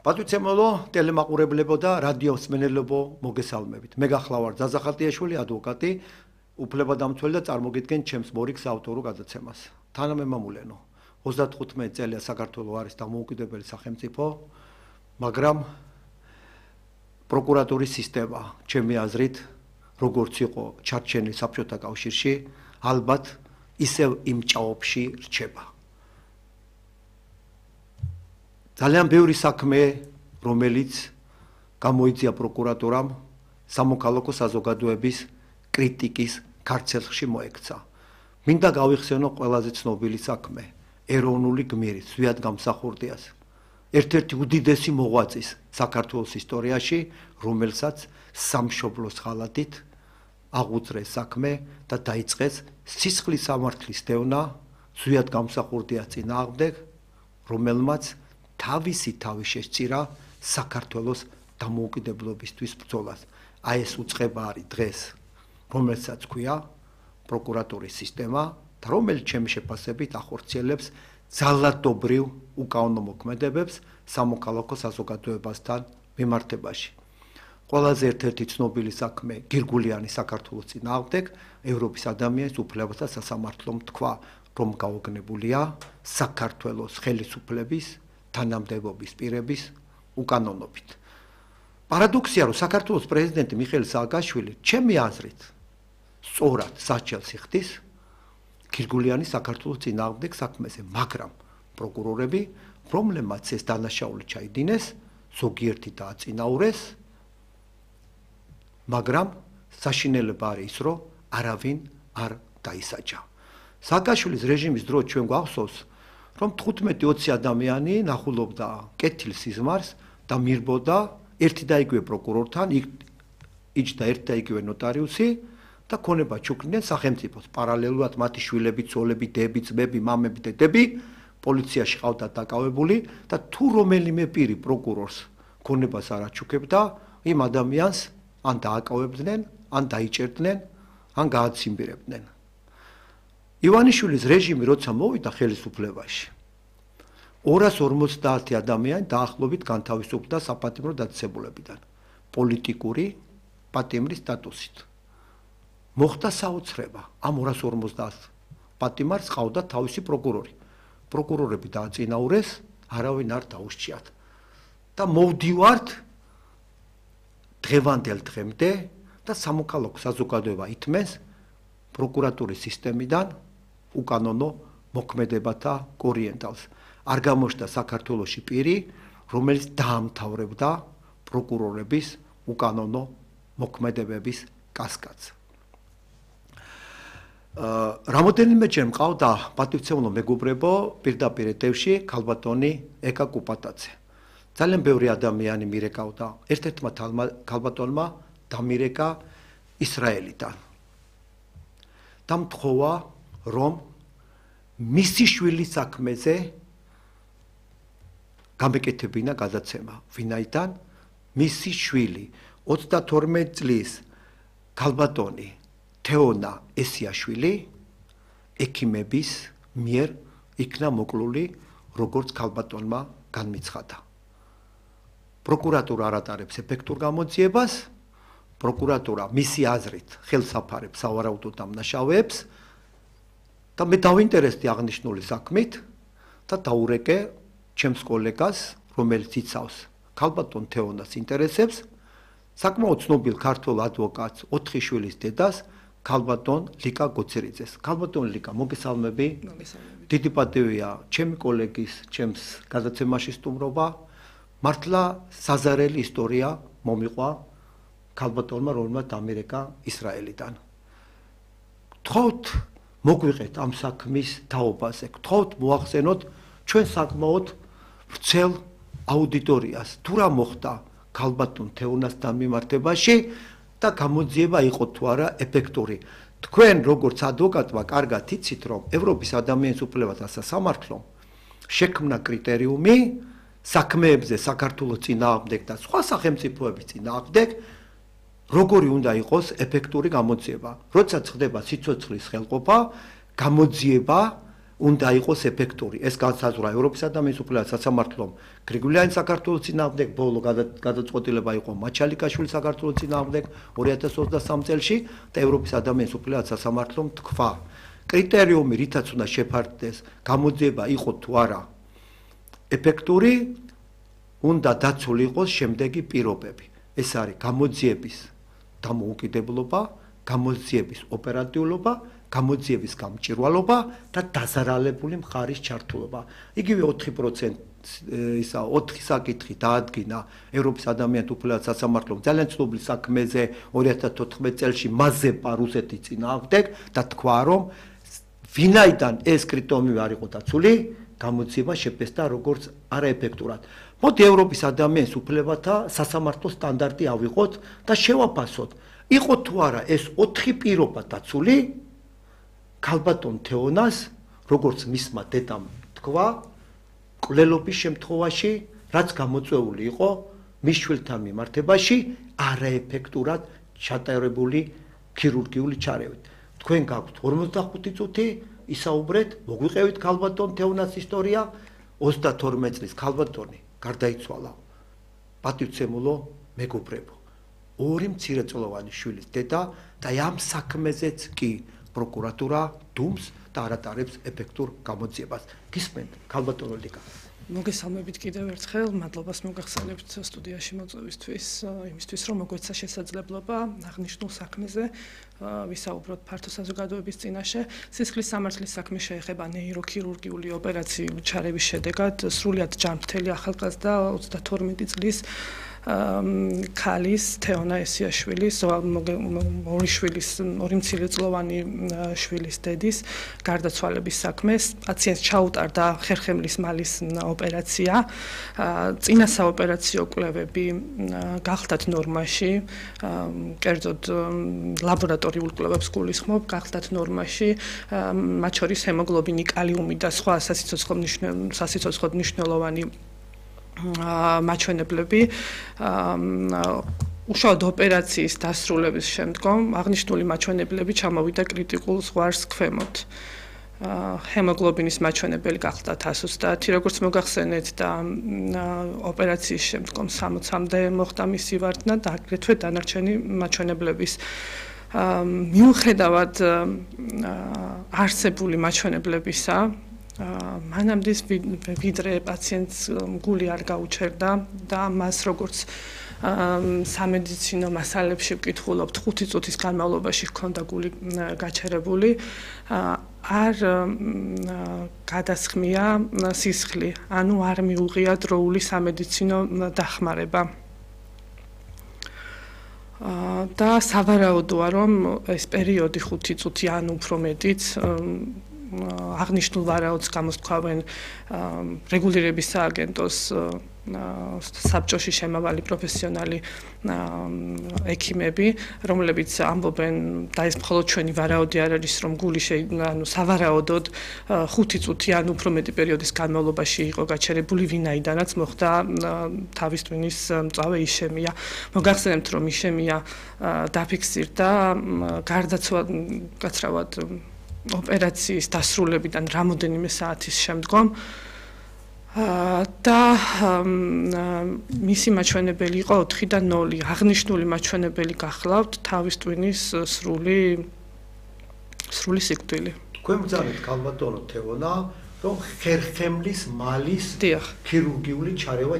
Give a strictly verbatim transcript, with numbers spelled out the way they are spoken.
პატივცემულო ტელემაყურებლებო და რადიოსმენელებო მოგესალმებით. მე გახლავარ ზაზა ხატიაშვილი, ადვოკატი, უფლებადამცველი და წარმოგიდგენ ჩემს მორიგს ავტორულ გადაცემას. თანამემამულენო, ოცდათხუთმეტი წელია საქართველოს არის დამოუკიდებელი სახელმწიფო, მაგრამ პროკურატურის სისტემა, ჩემი აზრით, როგორც იყო ჩარჩენილი საბჭოთა კავშირში, ალბათ ისევ იმ ჭაობში რჩება. ძალიან ბევრი საქმე, რომელიც გამოიწვია პროკურატურამ, სამოქალაქო საზოგადოების კრიტიკის ქარცელში მოექცა. მინდა გავიხსენო ყველაზე ცნობილი საქმე, ეროვნული გმირის, ზვიად გამსახურდიას. ერთ-ერთი უდიდესი მოღვაწის საქართველოს ისტორიაში, რომელსაც სამშობლოს ხალათით აღუძრეს საქმე და დაიწყეს სისხლის სამართლის დევნა ზვიად გამსახურდიას წინააღმდეგ, რომელმაც თავისი თავი შესწირა საქართველოს დამოუკიდებლობისთვის ბრძოლას. აი ეს უწყება არის დღეს, რომელსაც ქვია პროკურატურის სისტემა და რომელიც ჩემი შეფასებით ახორციელებს ძალადობრივ უკანონო მოქმედებებს სამოქალაქო საზოგადოებასთან მიმართებაში. ყველაზე ერთ-ერთი ცნობილი საქმე გირგულიანი საქართველოს წინააღმდეგ ევროპის ადამიანის უფლებათა სასამართლომ თქვა, რომ გაოგნებულია საქართველოს ხელისუფლების თანამდებობის პირების უკანონობით. პარადოქსია, რომ საქართველოს პრეზიდენტი მიხეილ სააკაშვილი, ჩემი აზრით, სწორად საჩელს იხდის გირგულიანი საქართველოს წინააღმდეგ საქმეზე, მაგრამ პროკურორები, რომლებმაც ეს დანაშაული ჩაიდინეს, ზოგიერთი დააწინაურეს, მაგრამ საშინელება არის ის, რომ არავინ არ დაისაჯა. სააკაშვილის რეჟიმის დროს ჩვენ გვახსოვს, რომ თხუთმეტი ოცი ადამიანი ნახულობდა კეთილ სიზმარს და მირბოდა ერთი და იგივე პროკურორთან, იჯდა ერთი და იგივე ნოტარიუსი და ქონება ჩუქნდნენ სახელმწიფოს. პარალელურად მათი შვილები, ცოლები, დები, ძმები, მამები, დედები პოლიციაში ყავდათ დაკავებული და თუ რომელიმე პირი პროკურორს ქონებას არ აჩუქებდა, იმ ადამიანს ან დააკავებდნენ, ან დაიჭერდნენ, ან გააციმბირებდნენ. ივანიშვილის რეჟიმი როცა მოვიდა ხელისუფლებაში, ორას ორმოცდაათი ადამიანი დაახლოებით განთავისუფლდა საპატიმრო დაწესებულებიდან პოლიტიკური პატიმრის სტატუსით. მოხდა საოცრება, ამ ორას ორმოცდაათ პატიმარს ყავდა თავისი პროკურორი. პროკურორები დააწინაურეს, არავინ არ დაუსჯიათ. და მოვდივართ დღევანდელ დღემდე და სამოქალაქო საზოგადოება ითმენს პროკურატურის სისტემიდან უკანონო მოქმედებათა კორიენტალს. არ გამოჩნდა საქართველოში პირი, რომელიც დაამთავრებდა პროკურორების უკანონო მოქმედებების კასკადს. რამოდენიმეჯერ მყავდა პატივცემულო მეგობრებო პირდაპირ ეთერში ქალბატონი ეკა კუპატაძე. ძალიან ბევრი ადამიანი მირეკავდა, ერთ-ერთმა ქალბატონმა დამირეკა ისრაელიდან. და მთხოვა, რომ მისი შვილის საქმეზე გამეკეთებინა გადაცემა, ვინაიდან მისი შვილი ოცდათორმეტი წლის ქალბატონი თეონა ესიაშვილი ექიმების მიერ იქნა მოკლული, როგორც ქალბატონმა განმიცხადა. პროკურატურა არ ატარებს ეფექტურ გამოძიებას, პროკურატურა მისი აზრით ხელს აფარებს სავარაუდო დამნაშავეებს და მე დავინტერესდი აღნიშნული საქმით და დაურეკე ჩემს კოლეგას, რომელიც იცავს ქალბატონ თეონას ინტერესებს, საკმაოდ ცნობილ ქართველ ადვოკატს, ოთხი შვილის დედას, ქალბატონ ლიკა გოცერიძეს. ქალბატონ ლიკა, მოგესალმები. მოგესალმებით. დიდი პატივია ჩემი კოლეგის, ჩემს გადაცემაში სტუმრობა. მართლა საზარელი ისტორია მომიყვა ქალბატონმა, რომელმაც დამირეკა ისრაელიდან. გთხოვთ მოგვიყეთ ამ საქმის თაობაზე. გთხოვთ მოახსენოთ ჩვენ საკმაოდ ვრცელ აუდიტორიას, თუ რა მოხდა ქალბატონ თეონასთან მიმართებაში და გამოძიება იყო თუ არა ეფექტური. თქვენ როგორც ადვოკატმა კარგად იცით, რომ ევროპის ადამიანის უფლებათა სასამართლომ შექმნა კრიტერიუმი საქმეებზე საქართველოს წინააღმდეგ და სხვა სახელმწიფოების წინააღმდეგ, როგორი უნდა იყოს ეფექტური გამოძიება. როდესაც ხდება სიცოცხლის ხელყოფა, გამოძიება უნდა იყოს ეფექტური. ეს განსაზღვრა ევროპის ადამიანის უფლებათა სასამართლომ გრიგოლიანი საქართველოს წინააღმდეგ, ბოლო გადაწყვეტილება იყო მაჩალიკაშვილის საქართველოს წინააღმდეგ ორი ათას ოცდასამ წელში და ევროპის ადამიანის უფლებათა სასამართლომ თქვა, კრიტერიუმი, რითაც უნდა შეფარდეს გამოძიება იყო თუ არა ეფექტური, უნდა დაცული იყოს შემდეგი პირობები. ეს არის გამოძიების დამოუკიდებლობა, გამოძიების ოპერატიულობა, გამოძიების გამჭვირვალობა და დაზარალებული მხარის ჩართულობა. იგივე ოთხი პროცენტი ისა ოთხი საკითხი დაადგინა ევროპის ადამიანთა უფლებათა სასამართლომ ძალიან ცნობილ საქმეზე ორი ათას თოთხმეტ წელში მაზეპა რუსეთის წინააღმდეგ და თქვა, რომ ვინაიდან ეს კრიტერიუმი არ იყო დაცული, გამოძიება შეფესდა როგორც არაეფექტურად. მოდი ევროპის ადამიანის უფლებათა სასამართლოს სტანდარტი ავიღოთ და შევაფასოთ, იყო თუ არა ეს ოთხი პირობა დაცული ქალბატონ თეონას, როგორც მისმა დედამ თქვა, კვლელობის შემთხვევაში, რაც გამოწვეული იყო მის შვილთან მიმართებაში, არაეფექტურად ჩატარებული ქირურგიული ჩარევით. თქვენ გაქვთ ორმოცდახუთი წუთი ისაუბრეთ, მოგვიყევით ქალბატონ თეონას ისტორია, ოცდათორმეტ წლის ქალბატონი გარდაიცვალა პატივცემულო მეგობრებო. ორი მცირეწლოვანი შვილის დედა და ამ საქმეზეც კი პროკურატურა დუმს და არ ატარებს ეფექტურ გამოძიებას. გისმენთ, ქალბატონო ლიკა. მოგესალმებით კიდევ ერთხელ, მადლობას მოგახსენებთ სტუდიაში მოწვევისთვის, იმისთვის რომ მოგვეცა შესაძლებლობა აღნიშნულ საქმეზე ვისაუბროთ ფართო საზოგადოების წინაშე. სისხლის სამართლის საქმე შეეხება ნეიროქირურგიული ოპერაციული ჩარევის შედეგად სრულიად ჯანმრთელი ახალგაზრდა ოცდათორმეტი წლის ქალის თეონა ესიაშვილის ორი შვილის ორი მცირეწლოვანი შვილის დედის გარდაცვალების საქმეს. პაციენტს ჩაუტარდა ხერხემლის მალის ოპერაცია. წინა საოპერაციო კვლევები გახდათ ნორმაში, კერძოდ ლაბორატორიულ კვლევებს გულისხმობ, გახდათ ნორმაში, მათ შორის ჰემოგლობინი, კალიუმი და სხვა სასიცოცხლოდ მნიშვნელოვანი მაჩვენებლები. უშუალოდ ოპერაციის დასრულების შემდგომ აღნიშნული მაჩვენებლები ჩამოვიდა კრიტიკულ ზღვარს ქვემოთ. ჰემოგლობინის მაჩვენებელი გახდა ათას ოცდაათი, როგორც მოგახსენეთ და ოპერაციის შემდგომ სამოცამდე მოხდა მისი ვარდნა და აგრეთვე დანარჩენი მაჩვენებლების მიუხედავად არსებული მაჩვენებლებისა, მანამდე ვიდრე პაციენტს გული არ გაუჩერდა და მას როგორც სამედიცინო მასალებში ვკითხულობთ, ხუთი წუთის განმავლობაში ჰქონდა გული გაჩერებული, არ გადასხმია სისხლი, ანუ არ მიუღია დროული სამედიცინო დახმარება. და სავარაუდოა, რომ ეს პერიოდი ხუთი წუთი ან უფრო მეტიც აღნიშნულ ვარაუდს გამოსთქვავენ რეგულირების სააგენტოს საბჭოში შემავალი პროფესიონალი ექიმები, რომლებიც ამბობენ და ეს მხოლოდ ჩვენი ვარაუდი არ არის, რომ გული ანუ სავარაუდოდ ხუთი წუთი ან უფრო მეტი პერიოდის განმავლობაში იყო გაჩერებული, ვინაიდანაც მოხდა თავის ტვინის მწვავე იშემია. მოგახსენებთ, რომ იშემია დაფიქსირდა გარდაცვალებად ოპერაციის დასრულებიდან რამოდენიმე საათის შემდგომ და მისი მაჩვენებელი იყო ოთხი და ნული. აღნიშნული მაჩვენებელი გახლავთ თავის ტვინის სრული სრული სიკვდილი. თქვენ ბრძანეთ ქალბატონო თეონა, რომ ხერხემლის მალის დიახ, ქირურგიული ჩარევა